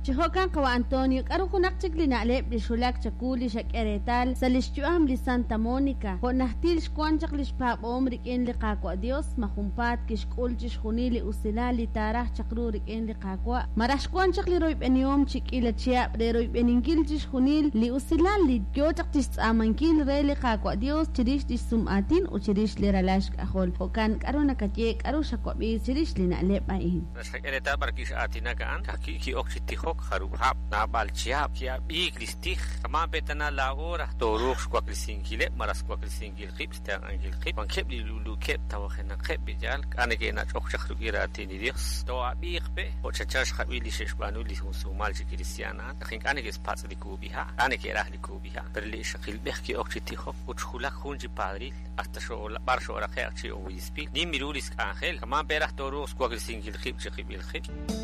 Chi jo'kan qawa' Antonio, k'aru junaq chik li na'leb' li xwulak chawu li xak'e reetal sa' li xyu'am li Santa Monica, jo' najtil xwank chaq li xpaab'ahom rik'in li Qaawa' Dios, ma junpaat kixk'ul chixjunil li usilal li taaraj chaq ru rik'in li Qaawa', malaj xwank chaq li royb'enihom chi k'iila chihab' re royb'eninkil chixjunil li usilal li yo chaq chixtz'aamankil re li Qaawa' Dios chirix lix sum'aatin ut chirix li ralal xk'ajol. Jo'kan, k'aru nakaye, k'aru xawab'i chirix li na'leb' a'in? Naq xqak'e reetal b'ar wi' x'aatinak a'an, ka'ajwi' ki'ok chi tijok jarub' hab', naab'al chihab', ki'ab'iik li xtij. Kama' pe' tana laa'o raj tooruuq xwaklesinkileb' malaj xwaklesinkil qib', xtenq'ankil qib'. Wankeb' li luluukeb' tawajenaqeb' li yaal, k'a' neke'nach'ok chaq rik'in raatin li Dios. Too'ab'iiq pe' jo' chanchan xqab'i li xe'xb'aanu li jun sumal chi kristiaan a'an, naq ink'a' neke'xpatz' li kub'iha', k'a' neke'raj li kub'iha'. Pero li ixaqilb'ej ki'ok chi tijok ut xwulak jun chi padril hasta b'ar xooraqe'q chi obiispil. Nim ru li xk'anjel, kama' pe' raj tooruuq xwaklesinkil qib' chiqib'il qib'.